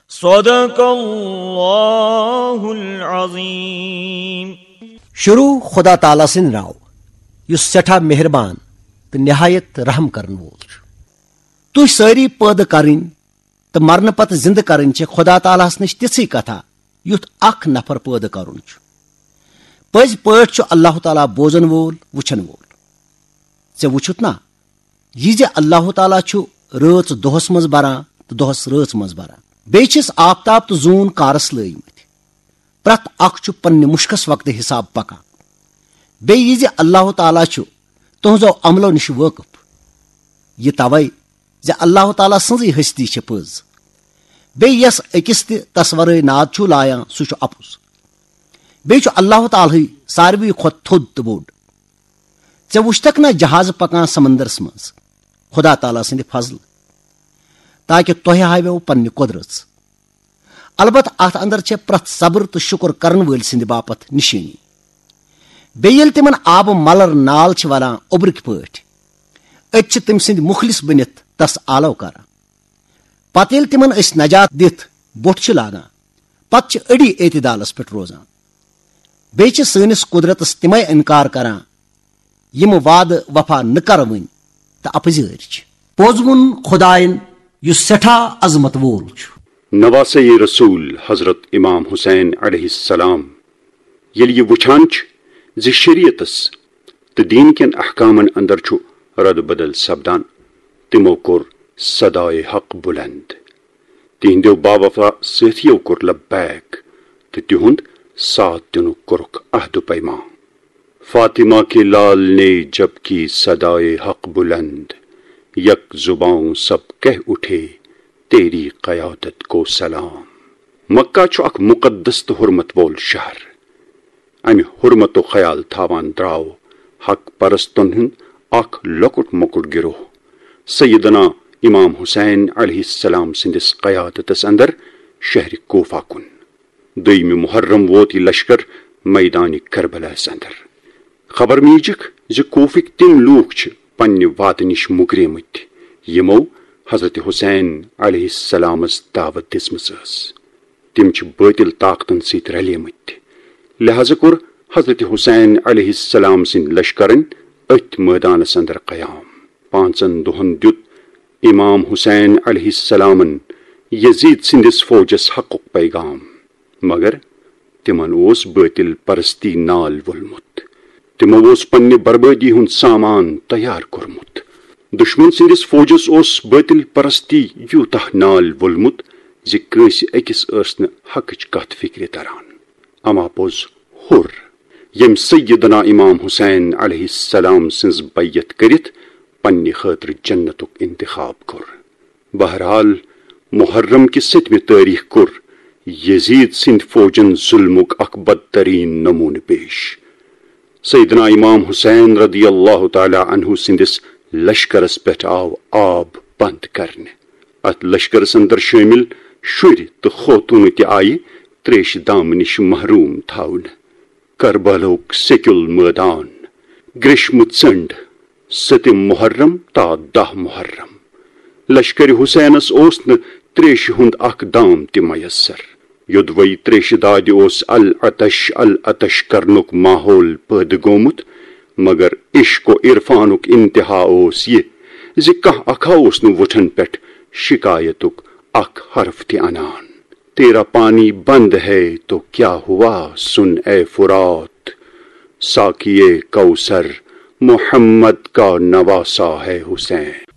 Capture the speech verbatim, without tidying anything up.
صدق اللہ العظیم۔ شروع خدا تعالیٰ سٕنٛدِ ناوٕ، یُس سٮ۪ٹھاہ مہربان تہٕ نہایت رحم کرن وول چھُ۔ تُہۍ سٲری پٲدٕ کرٕنۍ تہٕ مرنہٕ پتہٕ زِندٕ کرٕنۍ چھِ خدا تعالیٰ ہَس نِش تِژھٕے کتھا، یُتھ اکھ نفر پٲدٕ کرُن چھُ۔ پٔزۍ پٲٹھۍ چھُ اللہ تعالیٰ بوزن وول، وٕچھن وول۔ ژےٚ وٕچھُتھ نا، یہِ زِ اللہ تعالیٰ چھُ رٲژ دۄہس منٛز بران تہٕ دۄہس رٲژ منٛز بران۔ بیٚیہِ چھِس آفتاب تہٕ زوٗن کارس لٲگمٕتۍ۔ پرٛٮ۪تھ اکھ چھُ پننہِ مُشکس وقتہٕ حساب پکان۔ بیٚیہِ یہِ زِ اللہ تعالیٰ چھُ تُہنٛزو عملو نِش وٲقف۔ یہِ توے زِ اللہ تعالیٰ سٕنٛزٕے ہستی چھِ پٔز۔ بیٚیہِ یس أکِس تہِ تس ورٲے ناد چھُو لایان، سُہ چھُ اپُز۔ بیٚیہِ چھُ اللہ تعالیٰ ہٕے ساروی کھۄتہٕ تھوٚد تہٕ بوٚڑ۔ ژےٚ وُچھتکھ نا جہاز پکان سمندرس منٛز؟ خدا تعالیٰ سٕنٛدِ فضلہٕ۔ تاکہ تۄہہِ ہاویو پننہِ قۄدرژ۔ البتہ اتھ اندر چھےٚ پرٛٮ۪تھ صبر تہٕ شُکر کرن وٲلۍ سٕنٛدِ باپتھ نشٲنی۔ بیٚیہِ ییٚلہِ تِمن آبہٕ ملر نال چھِ ولان اوٚبرٕکۍ پٲٹھۍ، أتۍ چھِ تٔمۍ سٕنٛدۍ مُخلص بٔنِتھ تس آلو کران۔ پتہٕ ییٚلہِ تِمن أسۍ نجات دِتھ بوٚٹھ چھِ لاگان، پتہٕ چھِ أڑی اعتدالس پٮ۪ٹھ روزان۔ بیٚیہِ چھِ سٲنِس قۄدرتس تِمے انکار کران، یِم وعدٕ وفا نہٕ کرونۍ تہٕ اپزٲرۍ چھِ۔ پوٚز ووٚن خدایَن، یُس سٮ۪ٹھاہ عظمت وول چھُ۔ نواسۂ رسول حضرت امام حسین علیہ السلام ییٚلہِ یہِ وٕچھان چھِ زِ شریعتس تہٕ دیٖن کٮ۪ن احکامن اندر چھُ رد بدل سپدان، تِمو کوٚر صدایے حق بلند۔ تِہنٛدیو باوفا سٲتھیو کوٚر لبیک تہٕ تِہُنٛد ساتھ دِنُک کوٚرُکھ عہد و پیمان۔ فاطمہ کے لال نے جب کی صدائے حق بلند، یک زباں سب کہہ اٹھے تیری قیادت کو سلام۔ مکہ چھُ اکھ مقدس تہٕ حرمت وول شہر۔ امہِ حرمتُک خیال تھاوان درٛاو حق پرستن ہُنٛد اکھ لۄکُٹ مۄکُٹ گروہ سیدنا امام حسین علیہ السلام سٕنٛدِس قیادتس اندر شہرِ کوفہ کُن۔ دوٚیمہِ محرم ووت یہِ لشکر میدانِ کربلاہس اندر۔ خبر میٖجکھ زِ کوفٕکۍ تِم لوٗکھ چھِ پننہِ وعدٕ نِش مُکریمٕتۍ، یِمو حضرت حسین علیہ السلامس دعوت دِژمٕژ ٲس۔ تِم چھِ بٲطِل طاقتن سۭتۍ رلیمٕتۍ۔ لہذا کوٚر حضرت حسین علیہ السلام سٕنٛدۍ لشکرن أتھۍ مٲدانس اندر قیام۔ پانٛژن دۄہن دیُت امام حسین علیہ السلامن یزید سٕنٛدِس فوجس حقُک پیغام، مگر تِمن اوس بٲطِل پرستی نال وولمُت۔ تِمو اوس پننہِ بربٲدی ہُنٛد سامان تیار کوٚرمُت۔ دُشمن سٕنٛدِس فوجس اوس بٲطِل پرستی یوٗتاہ نال وولمُت زِ کٲنٛسہِ أکِس ٲس نہٕ حقٕچ کتھ فکرِ تران۔ اما پوٚز ہُر، ییٚمۍ سیدنا امام حسین علیہ السلام سٕنٛز بیعت کٔرِتھ پننہِ خٲطرٕ جنتُک انتخاب کوٚر۔ بہرحال، محرم کہِ ستمہِ تٲریخ کوٚر یزید سٕنٛدۍ فوجن ظلمُک اکھ بدترین نمونہٕ پیش۔ سیدنا امام حسین رضی اللہ تعالیٰ عنہ سٕنٛدِس لشکرس پٮ۪ٹھ آو آب بند کرنہٕ۔ اتھ لشکرس اندر شٲمِل شُرۍ تہٕ خوتوٗنہٕ تہِ آیہِ تریشہِ دامہٕ نِش محروم تھاونہٕ۔ کربلہُک سیٚکیُل مٲدان، گریشمہٕ ژٔنٛڈ، ستم محرم تا دَہ محرم۔ لشکرِ حسینس اوس نہٕ تریشہِ ہُنٛد اکھ دام تہِ میسر۔ یوٚدوَے تریشہِ دادِ اوس العطش العطش کرنُک ماحول پٲدٕ گوٚمُت، مگر عشق و عرفانُک انتہا اوس یہِ زِ کانٛہہ اکھا اوس نہٕ وُٹھن پٮ۪ٹھ شکایتُک اکھ حرف تہِ انان۔ تیرا پانی بند ہے تو کیا ہوا، سن اے فرات، ساقی کوثر محمد کا نواسا ہے حسین۔